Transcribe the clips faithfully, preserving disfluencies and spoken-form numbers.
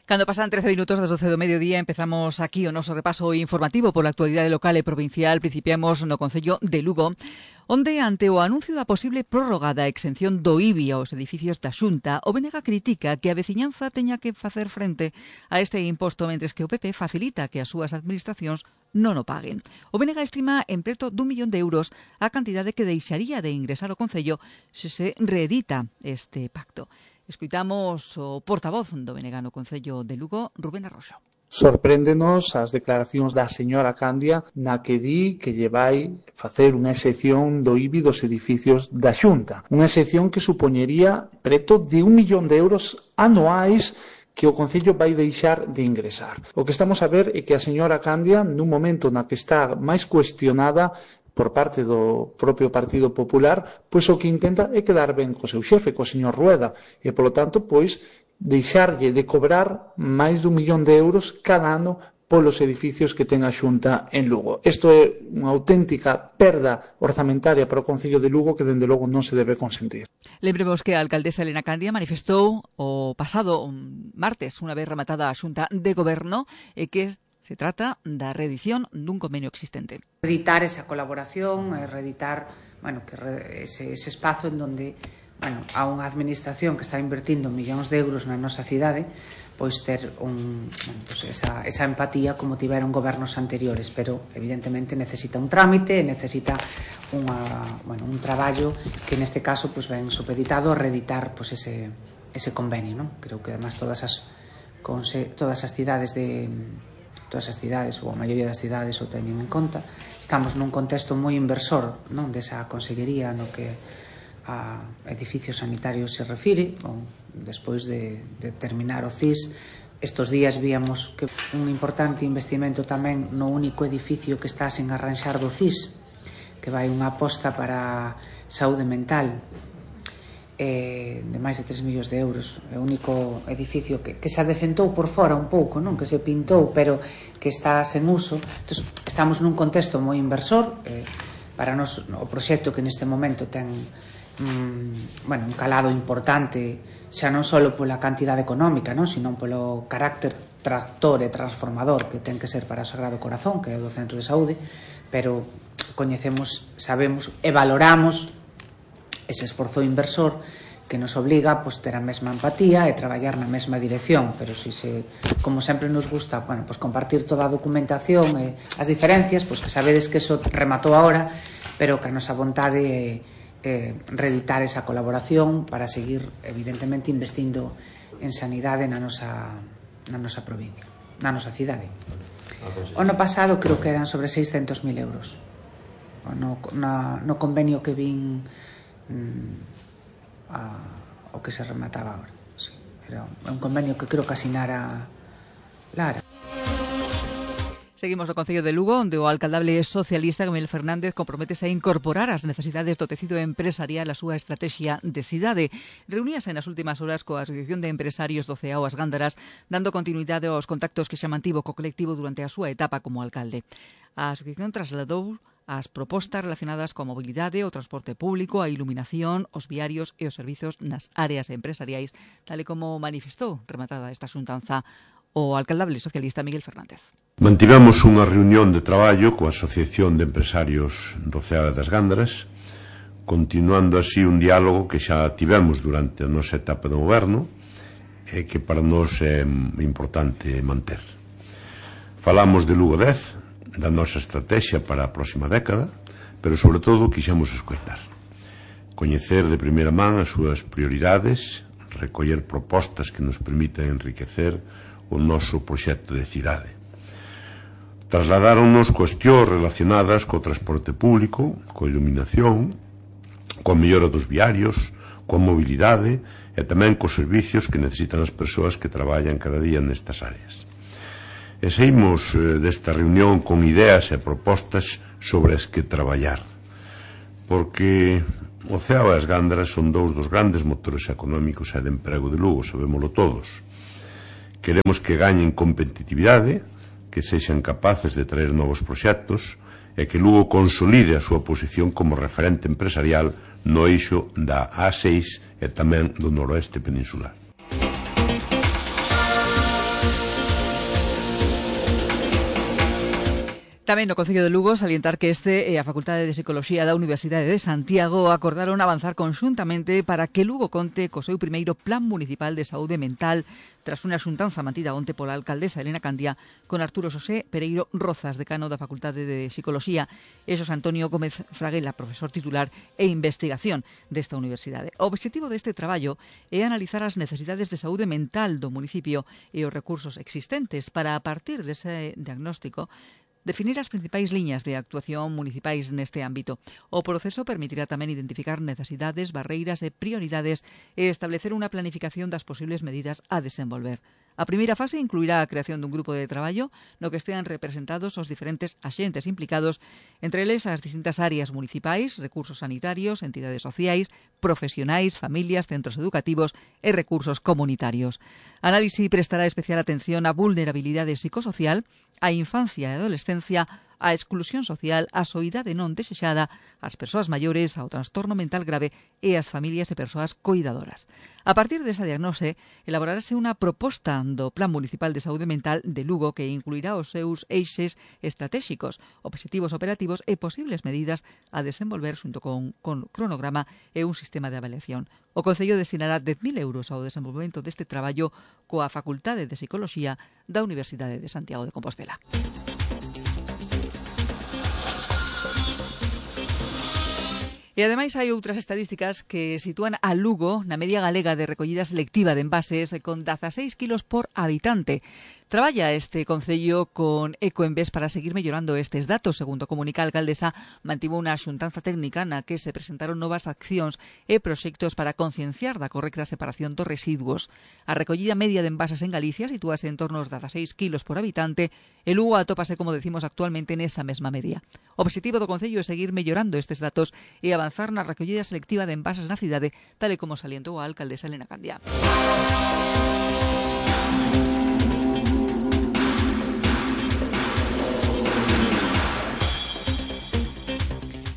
Cando pasan trece minutos das doce do mediodía, empezamos aquí o noso repaso informativo pola actualidade local e provincial. Principiamos no Concello de Lugo, onde, ante o anuncio da posible prórroga da exención do I B I aos edificios da Xunta, o B N G critica que a veciñanza teña que facer frente a este imposto, mentres que o P P facilita que as súas administracións non o paguen. O B N G estima en preto dun millón de euros a cantidade que deixaría de ingresar o Concello se se reedita este pacto. Escoitamos o portavoz do B N G no Concello de Lugo, Rubén Arroxo. Sorpréndenos as declaracións da señora Candia na que di que lle vai facer unha excepción do I B I dos edificios da Xunta. Unha excepción que supoñería preto de un millón de euros anuais que o Concello vai deixar de ingresar. O que estamos a ver é que a señora Candia, nun momento na que está máis cuestionada por parte do propio Partido Popular, pois o que intenta é quedar ben co seu xefe, co señor Rueda, e, polo tanto, pois, deixarlle de cobrar máis dun millón de euros cada ano polos edificios que ten a Xunta en Lugo. Isto é unha auténtica perda orzamentaria para o Concello de Lugo que, dende logo, non se debe consentir. Lembremos que a alcaldesa Elena Candia manifestou o pasado martes, unha vez rematada a Xunta de Goberno, e que se trata da reedición dun convenio existente. Reeditar esa colaboración, reeditar, bueno, que re, ese, ese espazo en donde, bueno, a unha administración que está invertindo millóns de euros na nosa cidade, pois ter un, bueno, pois esa, esa empatía como tiveron gobernos anteriores, pero evidentemente necesita un trámite, necesita unha, bueno, un traballo que neste caso pois ven supeditado a reeditar pois ese, ese convenio, non? Creo que además todas as, todas as cidades de todas as cidades, ou a maioría das cidades o teñen en conta. Estamos nun contexto moi inversor, non, desa consellería no que a edificios sanitarios se refire. Bon, despois de, de terminar o C I S, estos días víamos que un importante investimento tamén no único edificio que está sen arranxar do C I S, que vai unha aposta para saúde mental eh, de máis de tres millóns de euros. É o único edificio que, que se adecentou por fora un pouco, non, que se pintou, pero que está sen uso. Entón, estamos nun contexto moi inversor. eh, para nos o proxecto que neste momento ten mm, bueno, un calado importante, xa non só pola cantidade económica, non, sino polo carácter tractor e transformador que ten que ser para o Sagrado Corazón, que é o do centro de saúde, pero coñecemos, sabemos e valoramos ese esforzo inversor que nos obliga pues, ter a mesma empatía e traballar na mesma dirección, pero si se, como sempre nos gusta, bueno, pues, compartir toda a documentación e as diferencias, pues, que sabedes que eso rematou ahora, pero que a nosa vontade é eh, reeditar esa colaboración para seguir, evidentemente, investindo en sanidade na nosa, na nosa provincia, na nosa cidade. O ano pasado creo que eran sobre seiscentos mil euros no, na, no convenio que vin a, o que se remataba agora. Sí, era un convenio que creo que asinara Lara. Seguimos no Concello de Lugo, onde o alcaldable socialista Miguel Fernández comprométese a incorporar as necesidades do tecido empresarial á súa estrategia de cidade. Reuníase nas últimas horas coa Asociación de Empresarios do Ceao As Gándaras, dando continuidade aos contactos que xa mantivo co colectivo durante a súa etapa como alcalde. A asociación trasladou as propostas relacionadas coa mobilidade, o transporte público, a iluminación, os viarios e os servizos nas áreas empresariais, tal e como manifestou, rematada esta xuntanza, o alcaldable socialista Miguel Fernández. Mantivemos unha reunión de traballo coa Asociación de Empresarios do Ceao das Gándaras, continuando así un diálogo que xa tivemos durante a nosa etapa de goberno e que para nós é importante manter. Falamos de Lugo dez, da nosa estrategia para a próxima década, pero sobre todo quixemos escoitar, coñecer de primeira man as súas prioridades, recoller propostas que nos permitan enriquecer o noso proxecto de cidade. Trasladáronnos cuestións relacionadas co transporte público, coa iluminación, coa mellora dos viarios, coa mobilidade e tamén cos servicios que necesitan as persoas que traballan cada día nestas áreas. E saímos desta reunión con ideas e propostas sobre as que traballar, porque o Ceao e as Gándaras son dous dos grandes motores económicos e de emprego de Lugo, sabémolo todos. Queremos que gañen competitividade, que sexan capaces de traer novos proxectos e que Lugo consolide a súa posición como referente empresarial no eixo da A seis e tamén do noroeste peninsular. Tamén no Concello de Lugo salientar que este e a Facultade de Psicoloxía da Universidade de Santiago acordaron avanzar conxuntamente para que Lugo conte co seu primeiro Plan Municipal de Saúde Mental tras unha xuntanza mantida onte pola alcaldesa Elena Candia con Arturo Xosé Pereiro Rozas, decano da Facultade de Psicoloxía, e Xosé Antonio Gómez Fraguela, profesor titular e investigación desta universidade. O obxectivo deste traballo é analizar as necesidades de saúde mental do municipio e os recursos existentes para, a partir dese diagnóstico, definir as principais liñas de actuación municipais neste ámbito. O proceso permitirá tamén identificar necesidades, barreiras e prioridades e establecer unha planificación das posibles medidas a desenvolver. A primeira fase incluirá a creación dun grupo de traballo no que estean representados os diferentes axentes implicados, entre eles as distintas áreas municipais, recursos sanitarios, entidades sociais, profesionais, familias, centros educativos e recursos comunitarios. A análise prestará especial atención á vulnerabilidade psicosocial, á infancia e adolescencia, á exclusión social, á soidade non desexada, ás persoas maiores, ao trastorno mental grave e ás familias e persoas coidadoras. A partir desa diagnose, elaborarase unha proposta do Plan Municipal de Saúde Mental de Lugo que incluirá os seus eixes estratégicos, obxectivos operativos e posibles medidas a desenvolver xunto con, con cronograma e un sistema de avaliación. O Concello destinará dez mil euros ao desenvolvemento deste traballo coa Facultade de Psicoloxía da Universidade de Santiago de Compostela. E ademais hai outras estadísticas que sitúan a Lugo na media galega de recollida selectiva de envases con dezaseis kilos por habitante. Traballa este Concello con Ecoembes para seguir mellorando estes datos. Segundo comunica a alcaldesa, mantivo unha xuntanza técnica na que se presentaron novas accións e proxectos para concienciar da correcta separación dos residuos. A recollida media de envases en Galicia sitúase en torno aos dezaseis kilos por habitante e Lugo atópase, como decimos, actualmente nesa mesma media. O obxectivo do Concello é seguir mellorando estes datos e avanzar na recollida selectiva de envases na cidade, tal e como salientou a alcaldesa Elena Candia.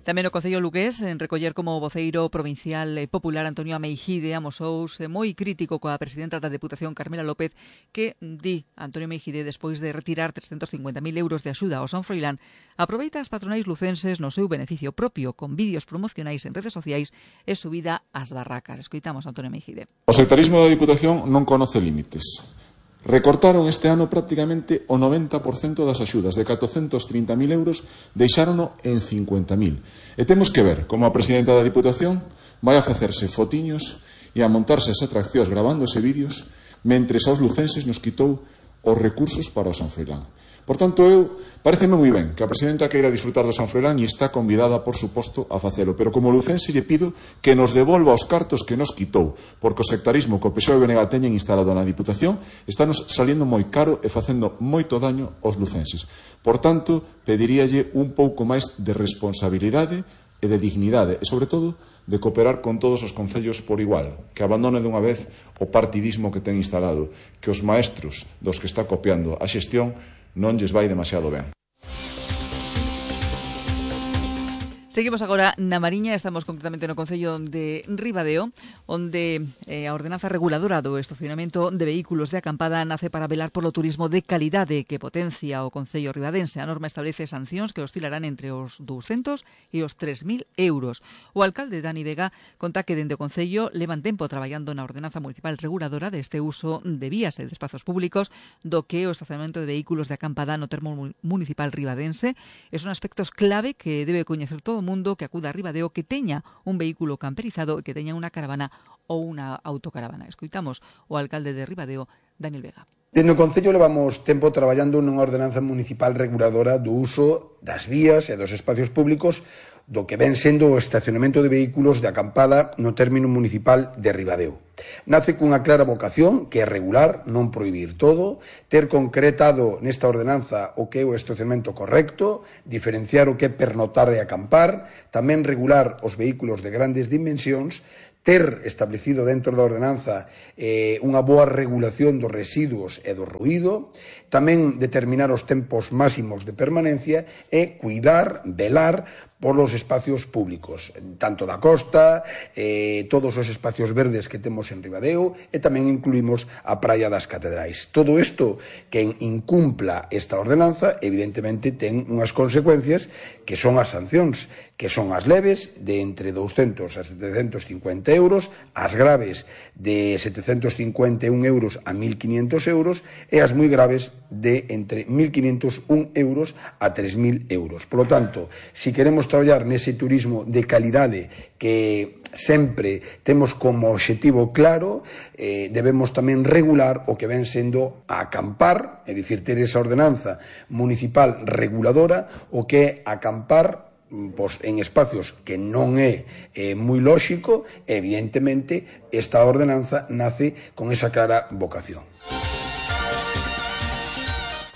Tamén o Concello lugués, en recoller como voceiro provincial popular Antonio Ameijide, amosouse moi crítico coa presidenta da Deputación Carmela López, que di Antonio Ameijide, despois de retirar trescentos cincuenta mil euros de axuda ao San Froilán, aproveita as patronais lucenses no seu beneficio propio, con vídeos promocionais en redes sociais e subida ás barracas. Escoitamos a Antonio Ameijide. O sectarismo da Diputación non conoce límites. Recortaron este ano prácticamente o noventa por cento das axudas, de catrocentos trinta mil euros, deixárono en cincuenta mil. E temos que ver como a presidenta da Diputación vai a facerse fotiños e a montarse as atraccións gravándose vídeos mentres aos lucenses nos quitou os recursos para o San Froilán. Por tanto, eu pareceme moi ben que a presidenta queira disfrutar do San Froilán e está convidada, por suposto, a facelo. Pero como lucense lle pido que nos devolva os cartos que nos quitou, porque o sectarismo que o P S O E e B N G teñen instalado na Diputación está nos saliendo moi caro e facendo moito daño aos lucenses. Por tanto, pediríalle un pouco máis de responsabilidade e de dignidade e, sobre todo, de cooperar con todos os concellos por igual, que abandone dunha vez o partidismo que ten instalado, que os maestros dos que está copiando a xestión non lles vai demasiado ben. Seguimos agora na Mariña, estamos concretamente no Concello de Ribadeo, onde eh, a ordenanza reguladora do estacionamento de vehículos de acampada nace para velar polo turismo de calidade que potencia o Concello ribadense. A norma establece sancións que oscilarán entre os douscentos e os tres mil euros. O alcalde Dani Vega conta que dende o Concello levan tempo traballando na ordenanza municipal reguladora deste uso de vías e de espazos públicos do que o estacionamento de vehículos de acampada no termo municipal ribadense. Son aspectos clave que debe coñecer todo mundo que acuda a Ribadeo que teña un vehículo camperizado e que teña unha caravana ou unha autocaravana. Escoitamos o alcalde de Ribadeo, Daniel Vega. Dende o Concello levamos tempo traballando nunha ordenanza municipal reguladora do uso das vías e dos espacios públicos do que ven sendo o estacionamento de vehículos de acampada no término municipal de Ribadeo. Nace cunha clara vocación que é regular, non prohibir todo, ter concretado nesta ordenanza o que é o estacionamento correcto, diferenciar o que é pernotar e acampar, tamén regular os vehículos de grandes dimensións, ter establecido dentro da ordenanza eh, unha boa regulación dos residuos e do ruído, tamén determinar os tempos máximos de permanencia e cuidar, velar polos espacios públicos, tanto da costa, eh, todos os espacios verdes que temos en Ribadeo, e tamén incluímos a Praia das Catedrais. Todo isto, quen incumpla esta ordenanza, evidentemente ten unhas consecuencias que son as sancións, que son as leves de entre douscentos a setecentos cincuenta euros, as graves de setecentos cincuenta e un euros a mil quinientos euros e as moi graves de entre mil quinientos un euros a tres mil euros. Por lo tanto, si queremos traballar nese turismo de calidade que sempre temos como obxectivo claro, eh, debemos tamén regular o que ven sendo a acampar, é dicir, ter esa ordenanza municipal reguladora, o que é acampar pois, en espacios que non é eh, moi lóxico. Evidentemente, esta ordenanza nace con esa clara vocación.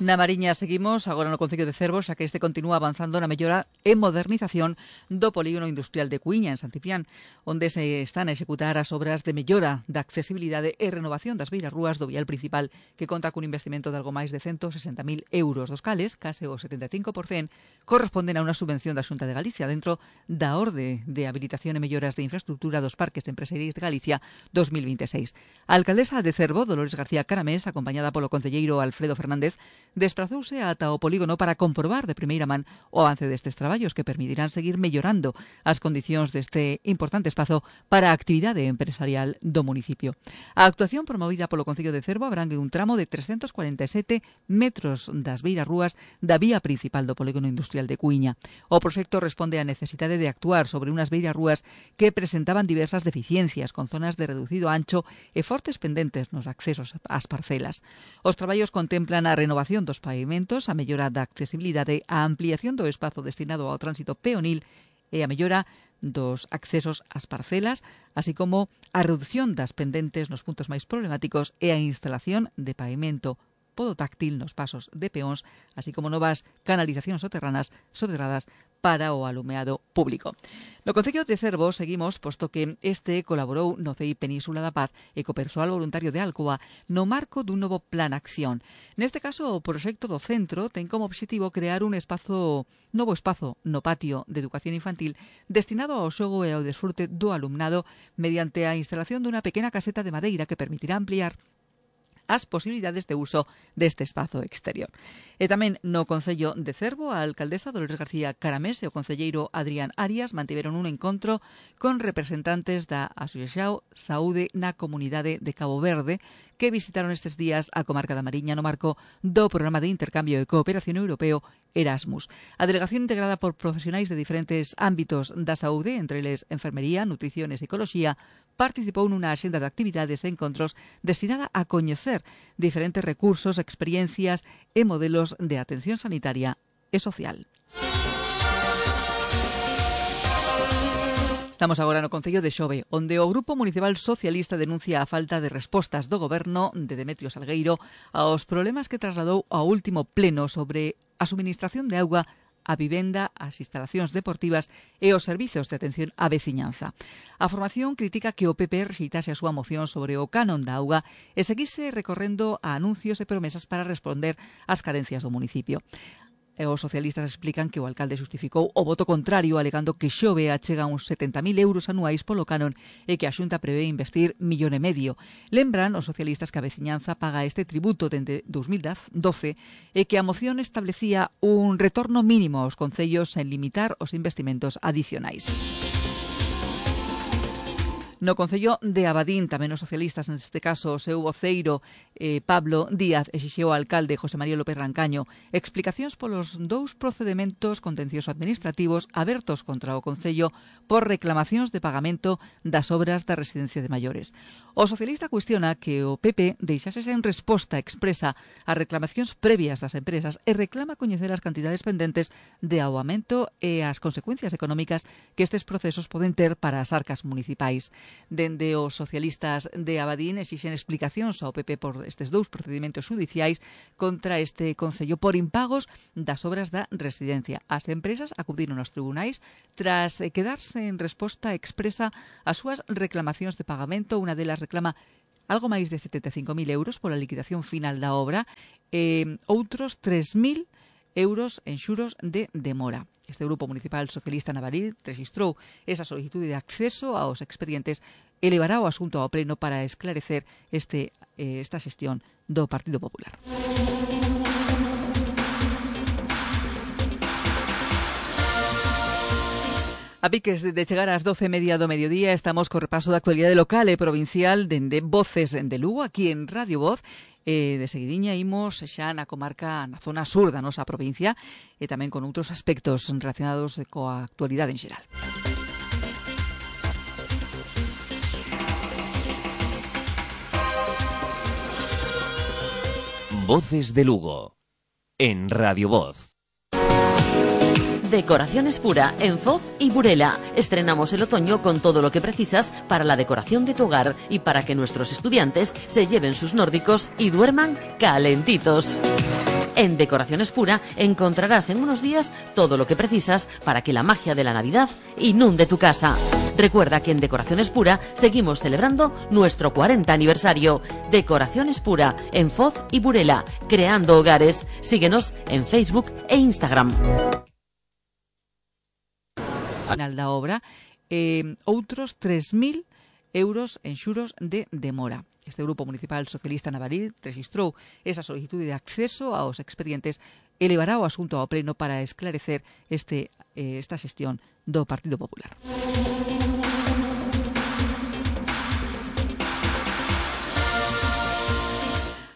Na Mariña seguimos agora no Concello de Cervo, xa que este continúa avanzando na mellora e modernización do polígono industrial de Cuíña, en San Ciprián, onde se están a executar as obras de mellora da accesibilidade e renovación das beirarrúas do vial principal, que conta cun investimento de algo máis de ciento sesenta mil euros, dos cales, case o setenta e cinco por cento, corresponden a unha subvención da Xunta de Galicia dentro da Orde de Habilitación e Melloras de Infraestructura dos Parques Empresariais de Galicia dos mil vinte e seis. A alcaldesa de Cervo, Dolores García Caramés, acompañada polo concelleiro Alfredo Fernández, desprazouse ata o polígono para comprobar de primeira man o avance destes traballos que permitirán seguir mellorando as condicións deste importante espazo para a actividade empresarial do municipio. A actuación promovida polo Concello de Cervo abrangue un tramo de trescentos cuarenta e sete metros das beirarrúas da vía principal do polígono industrial de Cuíña. O proxecto responde á necesidade de actuar sobre unhas beirarrúas que presentaban diversas deficiencias, con zonas de reducido ancho e fortes pendentes nos accesos ás parcelas. Os traballos contemplan a renovación dos pavimentos, a mellora da accesibilidade, a ampliación do espazo destinado ao tránsito peonil e a mellora dos accesos ás parcelas, así como a reducción das pendentes nos puntos máis problemáticos e a instalación de pavimento podotáctil nos pasos de peóns, así como novas canalizacións soterranas soterradas para o alumeado público. No Concello de Cervo seguimos, posto que este colaborou no C I Península da Paz e co persoal voluntario de Alcoa no marco dun novo plan acción. Neste caso, o proxecto do centro ten como obxectivo crear un espazo, novo espazo no patio de educación infantil destinado ao xogo e ao desfrute do alumnado mediante a instalación dunha pequena caseta de madeira que permitirá ampliar as posibilidades de uso deste espazo exterior. E tamén no Concello de Cervo, a alcaldesa Dolores García Caramés e o concelleiro Adrián Arias mantiveron un encontro con representantes da Asociación Saúde na Comunidade de Cabo Verde, que visitaron estes días a comarca da Mariña no marco do Programa de Intercambio e Cooperación Europeo Erasmus. A delegación integrada por profesionais de diferentes ámbitos da saúde, entre eles enfermería, nutrición e psicoloxía, participou nunha axenda de actividades e encontros destinada a coñecer diferentes recursos, experiencias e modelos de atención sanitaria e social. Estamos agora no Concello de Xove, onde o Grupo Municipal Socialista denuncia a falta de respostas do Goberno de Demetrio Salgueiro aos problemas que trasladou ao último pleno sobre a suministración de auga, a vivenda, as instalacións deportivas e os servizos de atención á veciñanza. A formación critica que o P P rexeitase a súa moción sobre o canon da auga e seguise recorrendo a anuncios e promesas para responder ás carencias do municipio. E os socialistas explican que o alcalde xustificou o voto contrario alegando que Xove achega uns setenta mil euros anuais polo canon e que a Xunta prevé investir millón e medio. Lembran os socialistas que a veciñanza paga este tributo dende dous mil doce e que a moción establecía un retorno mínimo aos concellos sen limitar os investimentos adicionais. No Concello de Abadín, tamén os socialistas, neste caso o seu voceiro eh, Pablo Díaz, exixeu ao alcalde José María López Rancaño explicacións polos dous procedementos contenciosos administrativos abertos contra o Concello por reclamacións de pagamento das obras da residencia de maiores. O socialista cuestiona que o P P deixase sen resposta expresa ás reclamacións previas das empresas e reclama coñecer as cantidades pendentes de aumento e as consecuencias económicas que estes procesos poden ter para as arcas municipais. Dende os socialistas de Abadín exixen explicacións ao P P por estes dous procedimentos judiciais contra este Concello por impagos das obras da residencia. As empresas acudiron aos tribunais tras quedarse en resposta expresa ás súas reclamacións de pagamento. Unha delas reclama algo máis de setenta e cinco mil euros pola liquidación final da obra e outros tres mil euros en xuros de demora. Este Grupo Municipal Socialista Navaril registrou esa solicitude de acceso aos expedientes e levará o asunto ao Pleno para esclarecer este, eh, esta xestión do Partido Popular. A piques de chegar ás doce e media do mediodía, estamos co repaso da actualidade local e provincial dende Voces de Lugo, aquí en Radio Voz. E de seguidiña imos xa na comarca, na zona sur da nosa provincia, e tamén con outros aspectos relacionados coa actualidade en xeral. Voces de Lugo, en Radio Voz. Decoraciones Pura en Foz y Burela. Estrenamos el otoño con todo lo que precisas para la decoración de tu hogar y para que nuestros estudiantes se lleven sus nórdicos y duerman calentitos. En Decoraciones Pura encontrarás en unos días todo lo que precisas para que la magia de la Navidad inunde tu casa. Recuerda que en Decoraciones Pura seguimos celebrando nuestro cuarenta aniversario. Decoraciones Pura en Foz y Burela, creando hogares. Síguenos en Facebook e Instagram. Final da obra, eh, outros tres mil euros en xuros de demora. Este Grupo Municipal Socialista Navaril registrou esa solicitude de acceso aos expedientes e levará o asunto ao Pleno para esclarecer este, eh, esta xestión do Partido Popular.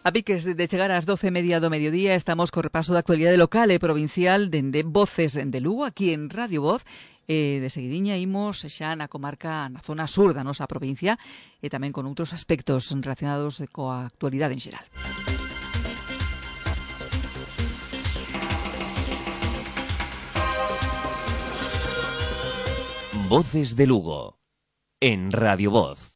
A piques de chegar ás doce e media do mediodía, estamos co repaso da actualidade local e provincial dende Voces de Lugo, aquí en Radio Voz. E de seguidiña imos xa na comarca, na zona sur da nosa provincia, e tamén con outros aspectos relacionados coa actualidade en xeral. Voces de Lugo, en Radio Voz.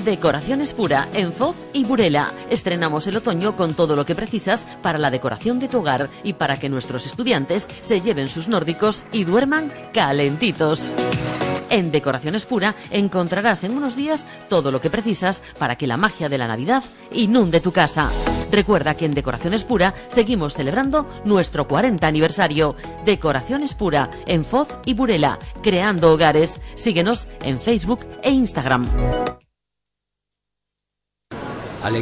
Decoraciones Pura en Foz y Burela. Estrenamos el otoño con todo lo que precisas para la decoración de tu hogar y para que nuestros estudiantes se lleven sus nórdicos y duerman calentitos. En Decoraciones Pura encontrarás en unos días todo lo que precisas para que la magia de la Navidad inunde tu casa. Recuerda que en Decoraciones Pura seguimos celebrando nuestro cuarenta aniversario. Decoraciones Pura en Foz y Burela, creando hogares. Síguenos en Facebook e Instagram.